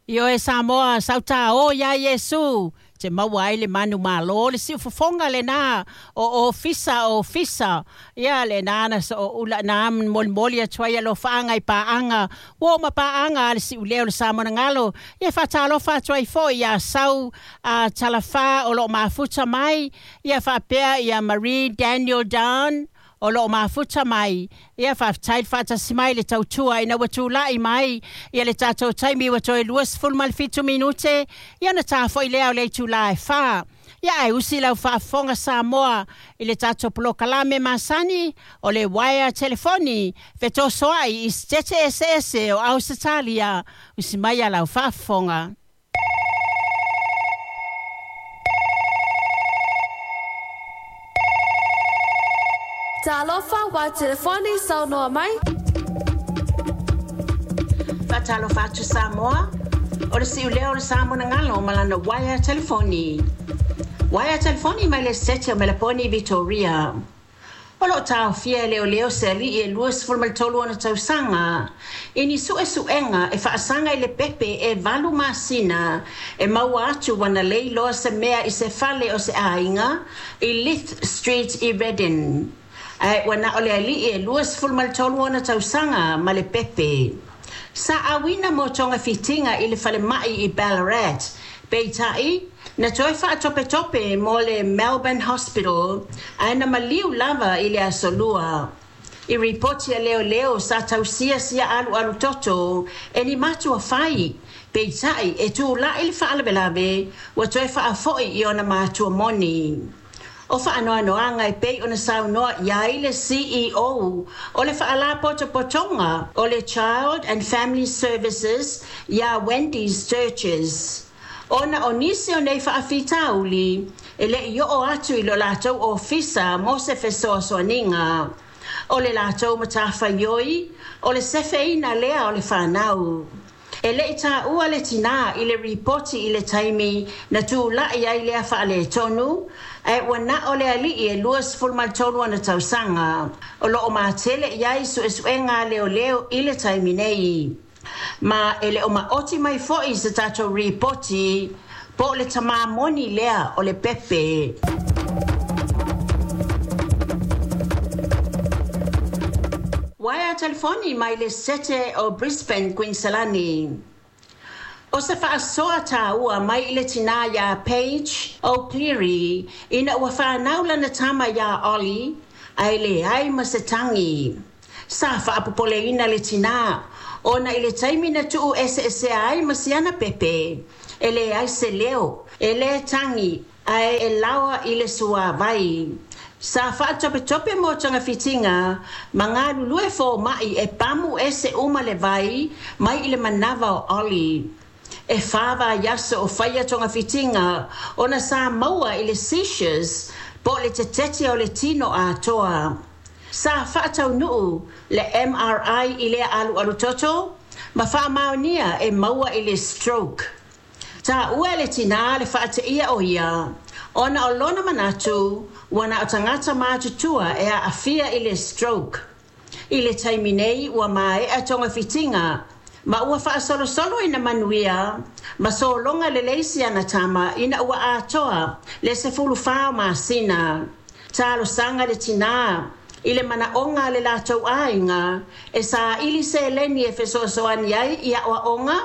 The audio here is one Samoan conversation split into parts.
Ioe Samoa, sauta o iā Iesu, te maua ai le manumalo, le siufofoga lenā o ofisa ofisa. Ia lenā na so'oula na molimoli atu ai alofaaga i paaga uo ma paaga a le siuleo le Samonagalo. Ia faatalofa atu ai fo'i iā Sau a Talafā o loo mafuta mai, ia faapea ia Marie Daniel Down o loo mafuta mai. Ia faafetai le faatasi mai le tautua ina ua tula'i mai ia le tatou taimi ua toe 27 minute ia na tafo'i lea o le itulā e 4. Ia ae usi lau faafofoga Samoa i le tatou polokalame masani o le uaea telefoni fetosoa'i i sitete eseese o Ausetalia. Usi mai a lau faafofoga. Talofa wa telefoni saunoa mai. Faatalofa atu Samoa, o le siuleo o le Samonagalo ma lana uaea telefoni. Uaea telefoni mai le Sete o Melaponi, Vitoria. O loo taofia e leoleo se alii e 23 ona tausaga i ni suesuega e faasaga i le pepe e 8 masina e maua atu ua na lei loa se mea i se fale o se aiga i Leith Street i Redden. Ae ua na o le alii e 23 ona tausaga ma le pepe. Sa auina mo togafitiga i le falemai i Ballarat, peitai na toe faatopetope mo le Melbourne Hospital ae na maliu lava i le aso Lua. I ripoti a leoleo sa tausia sia alualu toto e ni matua fai, peitai e tula'i le faalavelave ua toe faafo'i i ona matua moni. O faanoanoaga e pei ona saunoa i ai le CEO o le Faalapotopotoga o le Child and Family Services iā Wendy Sturges, ona o nisi o nei faafitauli e le'i oo atu i lo latou ofisa mo se fesoasoaniga. O le latou matafaioi o le sefeina lea o le fanau. E le'i tāua le tinā i le ripoti i le taimi na tula'i ai lea faaletonu, ae ua na o le alii e 23 ona tausaga. O loo matele i ai suesuega a leoleo i le taimi nei. Ma e le o maoti mai fo'i se tatou ripoti po o le tamā moni lea o le pepe. Uaea telefoni mai le Sete o Brisbane, Queensland. O se faasoa tāua mai i le tinā iā Paige O'Cleary ina ua fanau lana tama iā Ollie ae leai ma se tagi. Sa faapopoleina le tinā ona i le taimi na tuu eseesea ai ma siana pepe, e leai se leo, e lē tagi ae e laoa i le suāvai. Sa faatopetope mo togafitiga ma galulue foma'i e pamu ese uma le vai mai i le manava o Ollie. E 4 vaiaso o faia togafitiga ona sa maua i le seizures po o le tetete o le tino atoa. Sa faataunuu le MRI i lea alualu toto ma faamaonia e maua i le stroke. Taua e le tinā le faateia o ia ona o lona manatu ua na o tagata matutua e aafia i le stroke. I le taimi nei ua maea togafitiga ma ua faasolosolo ina manuia ma sologa lelei siana tama ina ua atoa le 14 masina. Talosaga le tinā i le manaoga a le latou aiga e saili seleni e fesoasoani ai i aoaoga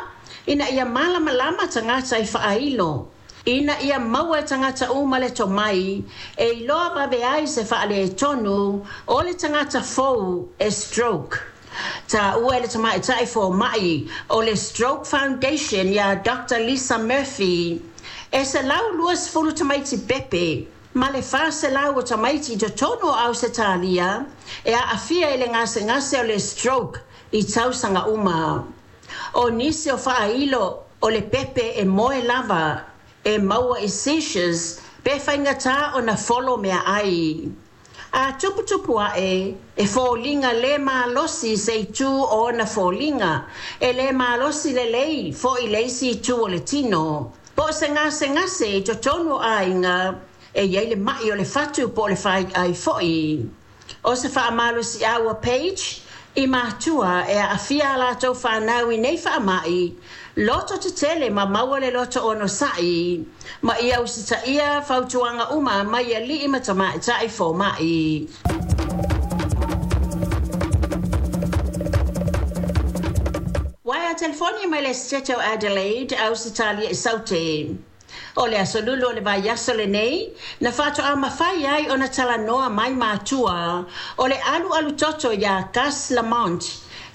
ina ia malamalama tagata i faailo ina ia maua e tagata uma le tomai e iloa vave ai se faaletonu o le tagata fou e stroke. Taua e le tamaitai foma'i o le Stroke Foundation iā Dr Lisa Murphy e 120 tamaiti pepe ma le 400 o tamaiti i totonu o Ausetalia e aafia i le gasegase o le stroke i tausaga uma. O nisi o faailo o le pepe e moe lava e maua i seizures pe faigata ona folo meaai. A tuputupu aʻe e foliga lē malosi se itu o ona foliga, e lē malosi lelei foʻi le isi itu o le tino. Po o se gasegase i totonu o aiga e iai le maʻi o le fatu po o le faiai foʻi. O se faamalosiau a Page I matua e aafia a latou fanau i nei faamai, loto tetele ma maua le loto onosai, ma ia usitaia fautuaga uma mai alii ma tamaitai foma'i. Uaea telefoni mai le Setete o Adelaide, Ausetalia i Saute. O le aso Lulu o le vaiaso lenei, na faatoa mafai ai ona talanoa mai matua o le alualu toto iā Gus Lamont,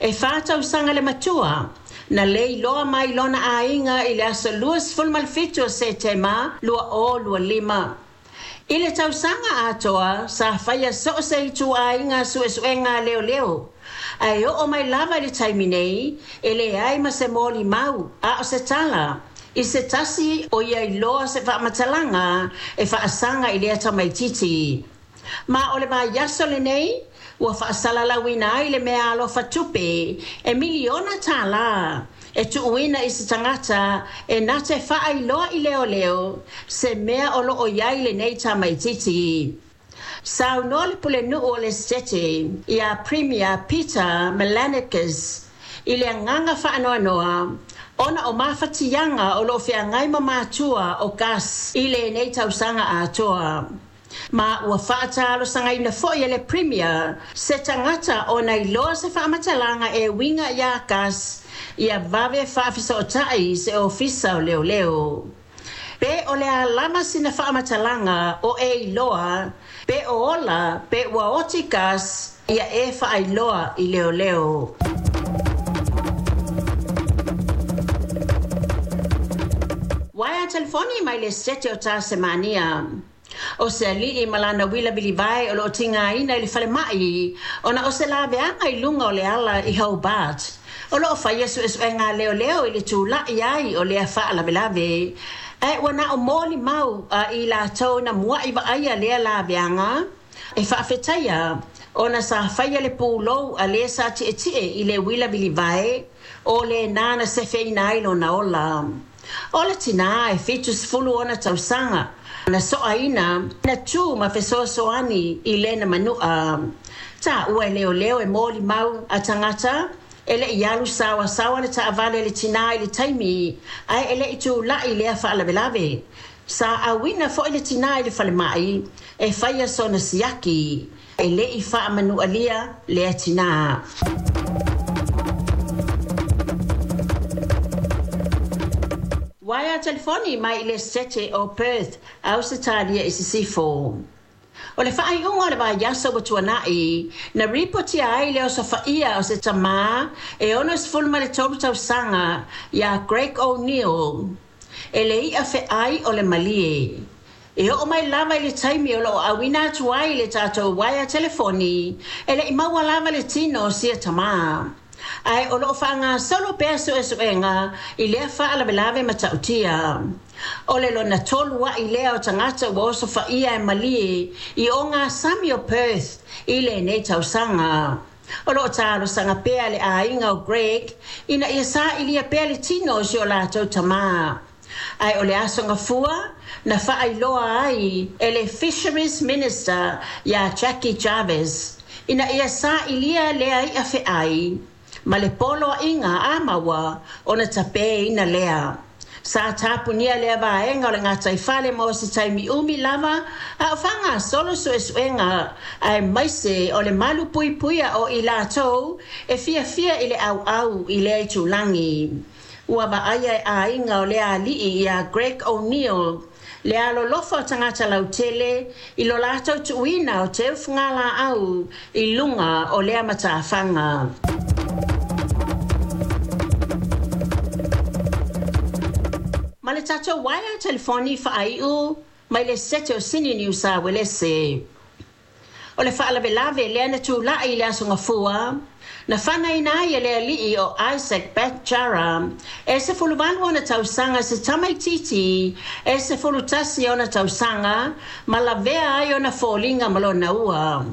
e 4 tausaga le matua, na le iloa mai lona aiga i le aso 27 o Setema 2025. I le tausaga atoa, sa faia so o se ituaiga suesuega a leoleo. Ae oo mai lava i le taimi nei, e leai ma se molimau, a o se tala, i se tasi o ia iloa se faamatalaga e faasaga i lea tamaititi. Ma o le vaiaso lenei, ua faasalalauina ai le meaalofa tupe e miliona tālā e tuuina i se tagata e na te faailoa i leoleo se mea o loo i ai lenei tamaititi. Saunoa le pulenuu o le Setete ia Premier Peter Malinauskas i le agaga faanoanoa ona o mafatiaga o loo feagai ma matua o Gus i lenei tausaga atoa. Ma ua faatalosagaina foi e le Premier se tagata ona iloa se faamatalaga e uiga iā Gus ia vave faafesootai se ofisa o leoleo. Pe o le a lava sina faamatalaga o e iloa, pe o ola, pe ua oti Gus, ia e faailoa i leoleo. Uaea telefoni mai le Setete o Tasemania. O se alii ma lana uila vilivae o loo tigaina i le falemai ona o se laveaga i luga o le ala i Hobart. O loo faia suesuega a leoleo i le tula'i ai o lea faalavelave. Ae ua na o molimau a i latou na mua'i vaaia lea laveaga e faafetaia ona sa faia le pulou a le sa tietie i le uila vilivae o lenā na sefeina ai lona ola. O le tinā e 70 ona tausaga na soaina na tū ma fesoasoani i lena manu'a. Taua e leoleo e molimau a tagata e le i alu saoasaoa le taavale le tinā i le taimi ae e le i tula'i lea faalavelave. Sa auina foi le tinā i le falemai e faia sona siaki. E le i faamanualia lea tinā. Uaea telefoni mai i le Setete o Perth, Ausetalia i Sisifo. O le faaiuga o le vaiaso ua tuana'i, na ripotia ai le osofaia o se tamā e 63 tausaga iā Greg O'Neill e le i'a feai o le malie. E oo mai lava i le taimi o loo auina atu ai le tatou uaea telefoni, e le i maua lava le tino o sia tamā. Ae o loo faagasolo pea suesuega i lea faalavelave matautia. O le lona tolu a'i lea o tagata ua osofaia e malie i ogasami o Perth i lenei tausaga. O loo talosaga pea le aiga o Greg ina ia sailia pea le tino o si o latou tamā. Ae o le aso Gafua na faailoa ai e le Fisheries Minister iā Jackie Jarvis ina ia sailia lea i'a feai ma le poloaiga a maua ona tapeina lea. Sa tapunia lea vaega o le gataifale mo se taimi umi lava a o faagasolo suesuega aemaise o le malu puipuia o i latou e fiafia i le auau i lea itulagi. Ua vaaia e aiga o lea alii ia Greg O'Neill le alolofa o tagata lautele i lo latou tuuina o teufagalaau i luga o lea matafaga. Ma le tatou uaea telefoni faaiu mai le Setete o Sini Niu Sa Uelese. O le faalavelave lea na tula'i i le aso Gafua, na fanaina ai e le alii o Isaac Batjara e 18 ona tausaga se tamaititi e 11 ona tausaga ma lavea ai ona foliga ma lona ua.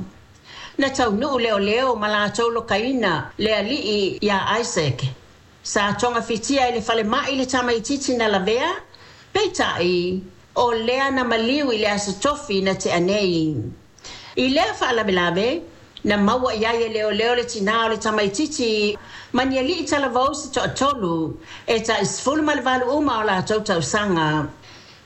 Na taunuu leoleo ma latou lokaina le alii iā Isaac. Sa togafitia i le falemai le tamaititi na lavea, peitai o lea na maliu i le aso Tofi na tea nei. I lea faalavelave, Na maua i ai e leoleo le tinā o le tamaitiiti ma ni alii talavou se toatolu e tai 18 uma o latou tausaga.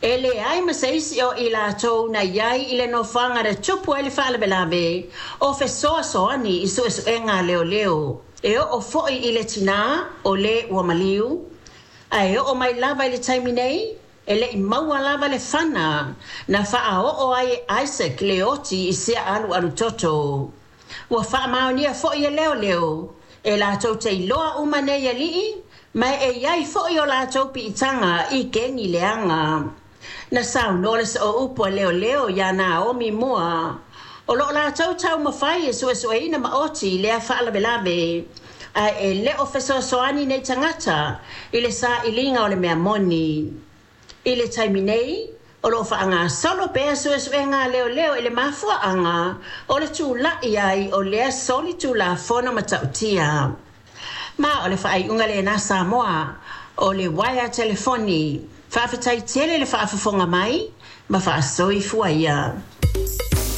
E leai ma se isi o i latou na i ai i le nofoaga na tupu ai le faalavelave o fesoasoani i suesuega a leoleo. E oo foi i le tinā o le ua maliu, ae oo mai lava i le taimi nei, e le i maua lava le fana na faaoo ai e Isaac le oti i sea alualutoto. Ua faamaonia foi e leoleo e latou te iloa uma nei alii, ma e i ai foi o latou piitaga i kegi leaga. Na saunoa le sooupu a leoleo ia Naomi Moore, o loo latou taumafai e suesueina maoti i lea faalavelave, ae e le o fesoasoani nei tagata i le sailiga o le mea moni. I le taimi nei, o loo faagasolo pea suesuega a leoleo i le mafuaaga o le tula'i ai o lea solitulafono matautia. Ma o le faaiuga lena Samoa o le uaea telefoni. Faafetai tele le faafofoga mai ma faasoifua ia.